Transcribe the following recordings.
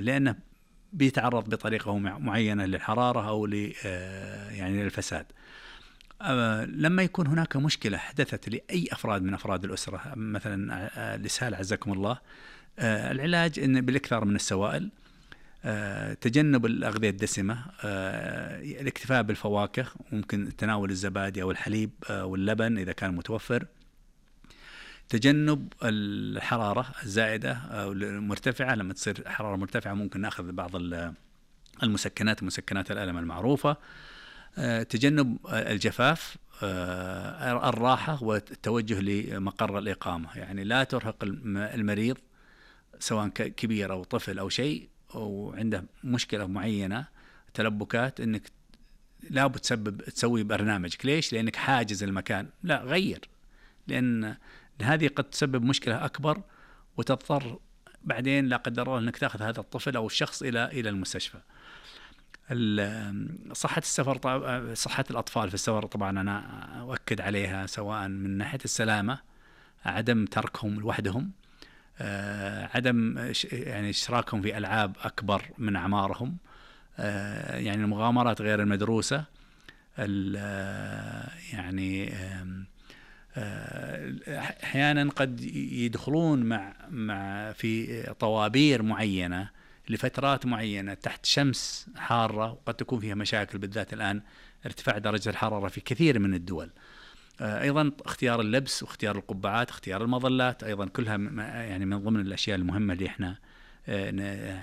لأنه بيتعرض بطريقة معينة للحرارة أو يعني للفساد. لما يكون هناك مشكلة حدثت لأي أفراد من أفراد الأسرة، مثلا الإسهال عزكم الله، العلاج إن بالإكثار من السوائل، تجنب الأغذية الدسمة، الاكتفاء بالفواكه، ممكن تناول الزبادي أو الحليب واللبن إذا كان متوفر، تجنب الحرارة الزائدة أو المرتفعة. لما تصير حرارة مرتفعة ممكن نأخذ بعض المسكنات، مسكنات الألم المعروفة، تجنب الجفاف، الراحة والتوجه لمقر الإقامة. يعني لا ترهق المريض سواء كبير أو طفل أو شيء وعنده مشكلة معينة تلبكات، إنك لا تسوي برنامجك. ليش؟ لأنك حاجز المكان. لا، غير، لأن هذه قد تسبب مشكلة أكبر وتضطر بعدين لا قدر الله أنك تأخذ هذا الطفل أو الشخص إلى المستشفى. صحة السفر، صحة الأطفال في السفر طبعا أنا أؤكد عليها، سواء من ناحية السلامة، عدم تركهم لوحدهم، عدم يعني اشتراكهم في ألعاب أكبر من أعمارهم، يعني المغامرات غير المدروسة، يعني أحيانا قد يدخلون مع في طوابير معينة لفترات معينة تحت شمس حارة، وقد تكون فيها مشاكل، بالذات الآن ارتفاع درجة الحرارة في كثير من الدول. أيضا اختيار اللبس واختيار القبعات، اختيار المظلات، أيضا كلها يعني من ضمن الأشياء المهمة اللي احنا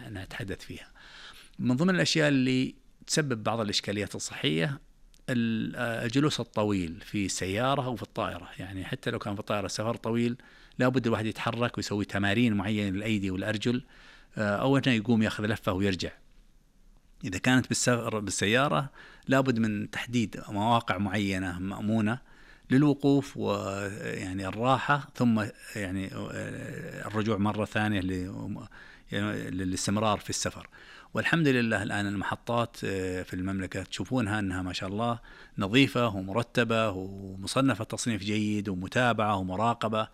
نتحدث فيها. من ضمن الأشياء اللي تسبب بعض الإشكاليات الصحية الجلوس الطويل في السيارة أو في الطائرة. يعني حتى لو كان في الطائرة سفر طويل لابد الواحد يتحرك ويسوي تمارين معينة للأيدي والأرجل، أو أنه يقوم يأخذ لفة ويرجع. إذا كانت بالسيارة لابد من تحديد مواقع معينة مأمونة للوقوف ويعني الراحة، ثم يعني الرجوع مرة ثانية للاستمرار في السفر. والحمد لله الآن المحطات في المملكة تشوفونها أنها ما شاء الله نظيفة ومرتبة ومصنفة تصنيف جيد ومتابعة ومراقبة،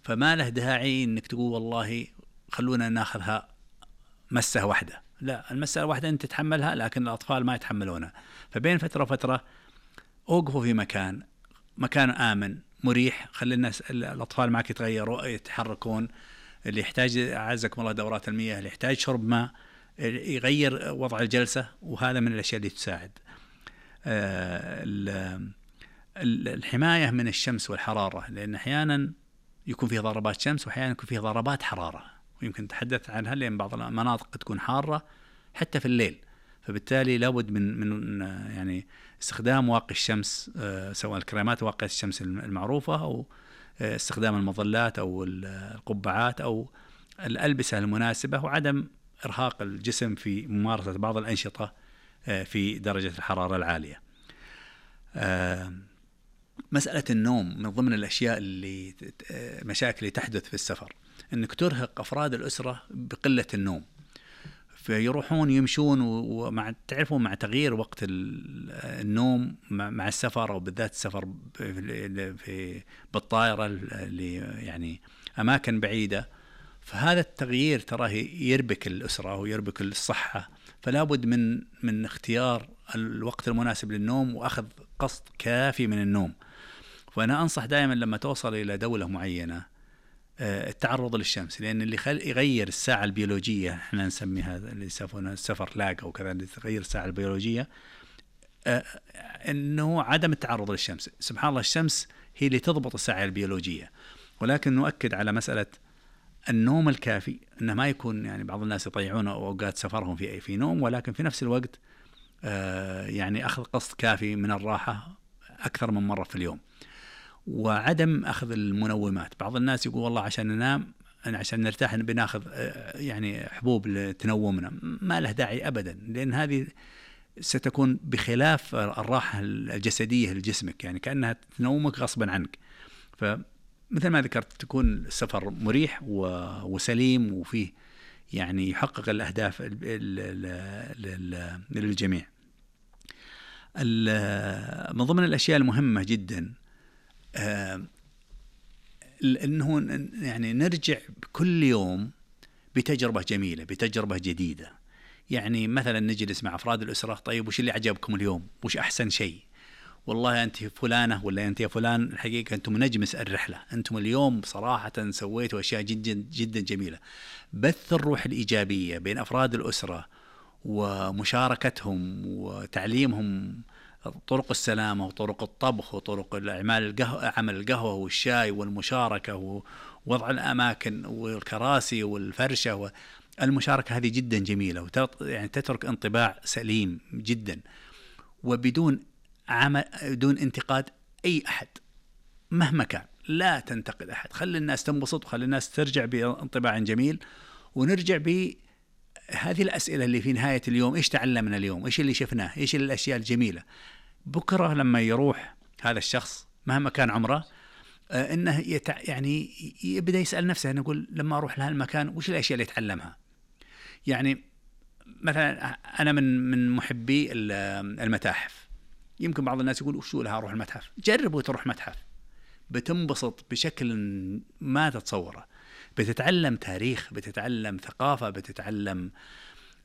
فما له داعي أنك تقول والله خلونا ناخذها مسة واحدة. لا، المسة واحدة أنت تتحملها، لكن الأطفال ما يتحملونها. فبين فترة وفترة أوقفوا في مكان آمن مريح، خلي الناس الأطفال معك يتغيروا يتحركون. اللي يحتاج أعزكم الله دورات المياه، اللي يحتاج شرب ماء يغير وضع الجلسة، وهذا من الأشياء اللي تساعد. الحماية من الشمس والحرارة، لأن أحيانا يكون فيه ضربات شمس وأحيانا يكون فيه ضربات حرارة، ويمكن نتحدث عنها لأن بعض المناطق تكون حارة حتى في الليل. فبالتالي لابد من يعني استخدام واقي الشمس، سواء الكريمات واقية الشمس المعروفة أو استخدام المظلات أو القبعات أو الألبسة المناسبة، وعدم إرهاق الجسم في ممارسة بعض الأنشطة في درجة الحرارة العالية. مسألة النوم من ضمن الأشياء اللي مشاكل اللي تحدث في السفر، أنك ترهق أفراد الأسرة بقلة النوم، فيروحون يمشون ومع تعرفون مع تغيير وقت النوم مع السفر، أو بالذات السفر بالطائرة اللي يعني أماكن بعيدة، فهذا التغيير تراه يربك الأسرة ويربك الصحة. فلا بد من اختيار الوقت المناسب للنوم وأخذ قسط كافي من النوم. وأنا أنصح دائما لما توصل إلى دولة معينة التعرض للشمس، لأن اللي يغير الساعة البيولوجية، احنا نسميها اللي يسمونها السفر لاج أو كذا، اللي تغير الساعة البيولوجية أنه عدم التعرض للشمس. سبحان الله، الشمس هي اللي تضبط الساعة البيولوجية. ولكن نؤكد على مسألة النوم الكافي، أنه ما يكون يعني بعض الناس يضيعون أوقات سفرهم في نوم، ولكن في نفس الوقت يعني أخذ قسط كافي من الراحة أكثر من مرة في اليوم، وعدم أخذ المنومات. بعض الناس يقول والله عشان ننام، عشان نرتاح بناخذ يعني حبوب تنومنا. ما له داعي أبدا، لأن هذه ستكون بخلاف الراحة الجسدية لجسمك، يعني كأنها تنومك غصبا عنك. فمثل ما ذكرت تكون السفر مريح وسليم وفيه يعني يحقق الأهداف للجميع. من ضمن الأشياء المهمة جدا أنه يعني نرجع كل يوم بتجربة جميلة، بتجربة جديدة. يعني مثلا نجلس مع أفراد الأسرة، طيب وش اللي عجبكم اليوم؟ وش أحسن شيء؟ والله أنت فلانة ولا أنت يا فلان، الحقيقة أنتم نجمس الرحلة، أنتم اليوم صراحة سويتوا أشياء جدا جدا جميلة. بث الروح الإيجابية بين أفراد الأسرة ومشاركتهم وتعليمهم طرق السلامة وطرق الطبخ وطرق عمل القهوة والشاي والمشاركة ووضع الأماكن والكراسي والفرشة. المشاركة هذه جدا جميلة، يعني تترك انطباع سليم جدا، وبدون بدون انتقاد أي أحد مهما كان. لا تنتقد أحد، خلي الناس تنبسط وخلي الناس ترجع بانطباع جميل. ونرجع بهذه الأسئلة اللي في نهاية اليوم: إيش تعلمنا اليوم؟ إيش اللي شفناه؟ إيش الأشياء الجميلة؟ بكرة لما يروح هذا الشخص مهما كان عمره، إنه يعني يبدأ يسأل نفسه، نقول لما أروح لهالمكان وش الأشياء اللي أتعلمها؟ يعني مثلا أنا من محبي المتاحف. يمكن بعض الناس يقول وشو لها أروح المتحف؟ جربوا تروح متحف، بتنبسط بشكل ما تتصوره. بتتعلم تاريخ، بتتعلم ثقافة، بتتعلم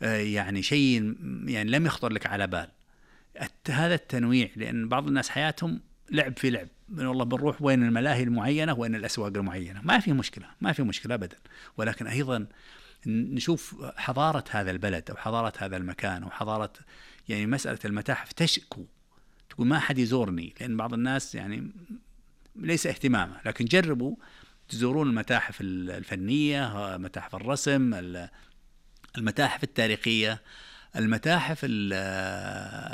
يعني شيء يعني لم يخطر لك على بال. هذا التنويع، لأن بعض الناس حياتهم لعب في لعب، والله بنروح وين الملاهي المعينة وين الأسواق المعينة، ما في مشكلة، ما في مشكلة أبدا. ولكن أيضا نشوف حضارة هذا البلد أو حضارة هذا المكان أو حضارة، يعني مسألة المتاحف تشكو، تقول ما حد يزورني، لأن بعض الناس يعني ليس اهتمامه. لكن جربوا تزورون المتاحف الفنية، متاحف الرسم، المتاحف التاريخية، المتاحف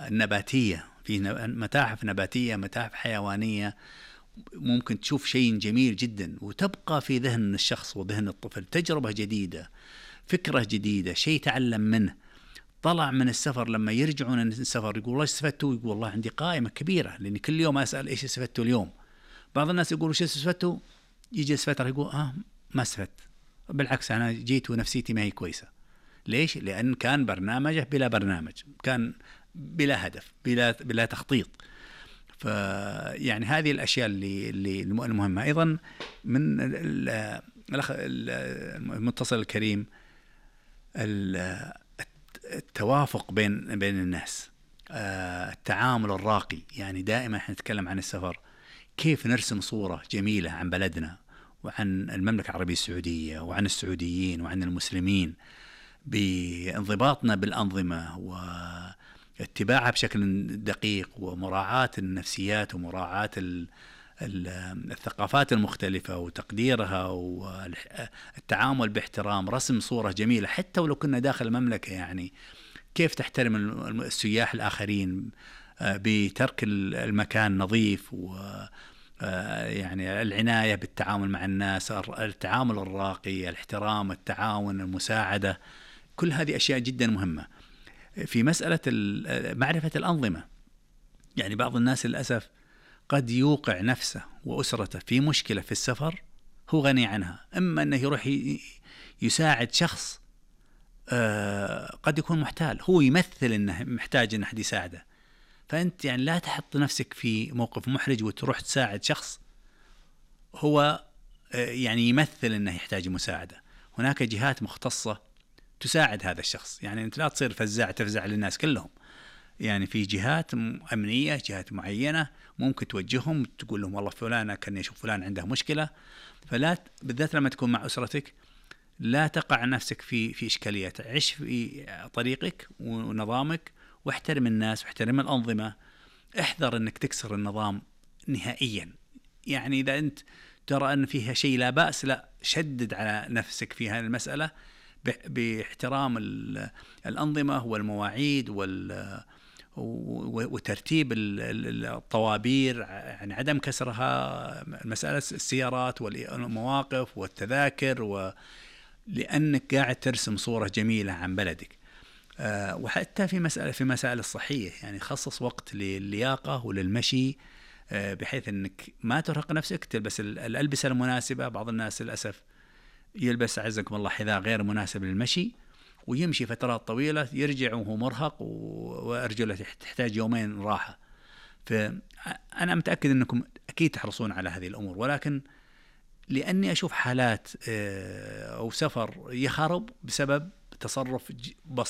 النباتية، في متاحف نباتية، متاحف حيوانية. ممكن تشوف شيء جميل جدا وتبقى في ذهن الشخص وذهن الطفل تجربة جديدة، فكرة جديدة، شيء تعلم منه. طلع من السفر، لما يرجعون من السفر يقول الله استفدتوا؟ يقول والله عندي قائمة كبيرة، لأني كل يوم أسأل إيش استفدتوا اليوم. بعض الناس يقولوا إيش استفدتوا، يجي فترة يقول ما استفدت، بالعكس أنا جيت ونفسيتي ما هي كويسة. ليش؟ لأن كان برنامجه بلا برنامج، كان بلا هدف، بلا تخطيط. فيعني هذه الأشياء اللي المهمة. أيضا من المتصل الكريم التوافق بين الناس، التعامل الراقي. يعني دائما احنا نتكلم عن السفر، كيف نرسم صورة جميلة عن بلدنا وعن المملكة العربية السعودية وعن السعوديين وعن المسلمين، بانضباطنا بالأنظمة واتباعها بشكل دقيق، ومراعاة النفسيات ومراعاة الثقافات المختلفة وتقديرها والتعامل باحترام، رسم صورة جميلة حتى ولو كنا داخل المملكة. يعني كيف تحترم السياح الآخرين بترك المكان نظيف، و يعني العناية بالتعامل مع الناس، التعامل الراقي، الاحترام، التعاون، المساعدة. كل هذه أشياء جدا مهمة في مسألة معرفة الأنظمة. يعني بعض الناس للأسف قد يوقع نفسه وأسرته في مشكلة في السفر هو غني عنها، إما أنه يروح يساعد شخص قد يكون محتال، هو يمثل أنه محتاج أن أحد يساعده. فأنت يعني لا تحط نفسك في موقف محرج وتروح تساعد شخص هو يعني يمثل أنه يحتاج مساعدة. هناك جهات مختصة تساعد هذا الشخص، يعني أنت لا تصير فزاع تفزع للناس كلهم. يعني في جهات أمنية، جهات معينة ممكن توجههم، تقول لهم والله فلان كان يشوف فلان عنده مشكلة. فلا بالذات لما تكون مع أسرتك لا تقع نفسك في إشكاليات، عش في طريقك ونظامك، واحترم الناس واحترم الأنظمة. احذر أنك تكسر النظام نهائيا. يعني إذا أنت ترى أن فيها شيء لا بأس، لا، شدد على نفسك في هذه المسألة باحترام الأنظمة والمواعيد وترتيب الطوابير، يعني عدم كسرها، مسألة السيارات والمواقف والتذاكر، لأنك قاعد ترسم صورة جميلة عن بلدك. وحتى في مسائل الصحية، يعني خصص وقت للياقة وللمشي، بحيث أنك ما ترهق نفسك، تلبس الألبسة المناسبة. بعض الناس للأسف يلبس عزكم الله حذاء غير مناسب للمشي ويمشي فترات طويلة، يرجع وهو مرهق وأرجله تحتاج يومين راحة. فأنا متأكد أنكم أكيد تحرصون على هذه الأمور، ولكن لأني أشوف حالات أو سفر يخرب بسبب تصرف